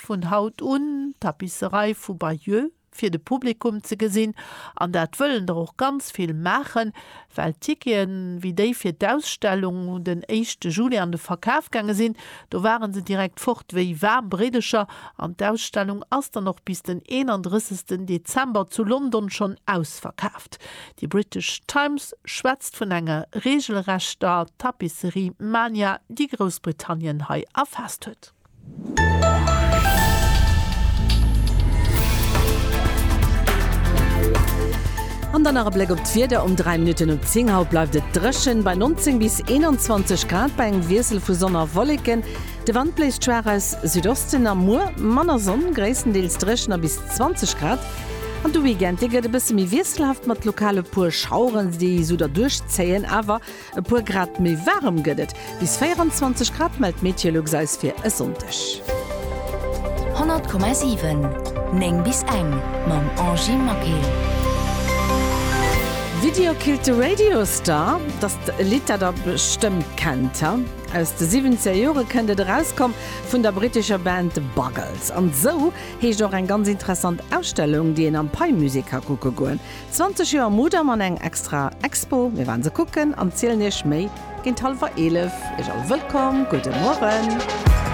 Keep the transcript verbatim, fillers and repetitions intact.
vun haut un d'Tapisserie vu Bayeux fir de Publikum ze gesinn, an dat wëllen der och ganz vill maachen, well d'Ticketen, wéi déi fir d'Ausstellung den éischte Juli an de Verkaf gaange sinn, do ware se direkt fort wéi waarm Bréidecher an d'Ausstellung ass dann och bis den eenandrëssegsten Dezember zu London schonn ausverkaaft. Déi British Times schwätzt vun enger reegelrechter Tapisserie-Mania, déi Groussbritannien hei erfaasst huet. An dann nach e Bléck op d'Wieder, Um dräi Minutten op zéng haut bleift et dréchen bei neunzéng bis eenanzwanzeg Grad bei engem Wiessel vu Sonn a Wolleken. De Wand bléist schwaach aus Südosten a muer manner Sonn, gréisstendeels dréchen a bis zwanzeg Grad. An de Weekend, dee gëtt e bësse méi wiesselhaft mat lokal e puer Schaueren, déi esou derduerch zéien, awer e puer Grad méi waarem gëtt et, bis véieranzwanzeg Grad mellt Meteolux eis fir e Sonndeg. honnert Komma siwen, néng bis eng mam Angie Maquil. Video Killed the Radio Star, dat ass e Lidd, dat der bestëmmt kennt, ha? Aus de siwwenzeger Jore kënnt et, erauskomm vun der brittescher Band The Buggles. An esou heescht och eng ganz interessant Ausstellung, déi een am Pei-Musée ka kucke goen. zwanzeg Joer Mudam an eng extra Expo. Mir waren se kucken an zielen iech méi géint hallwer eelef. Iech all wëllkomm, gudde Mueren.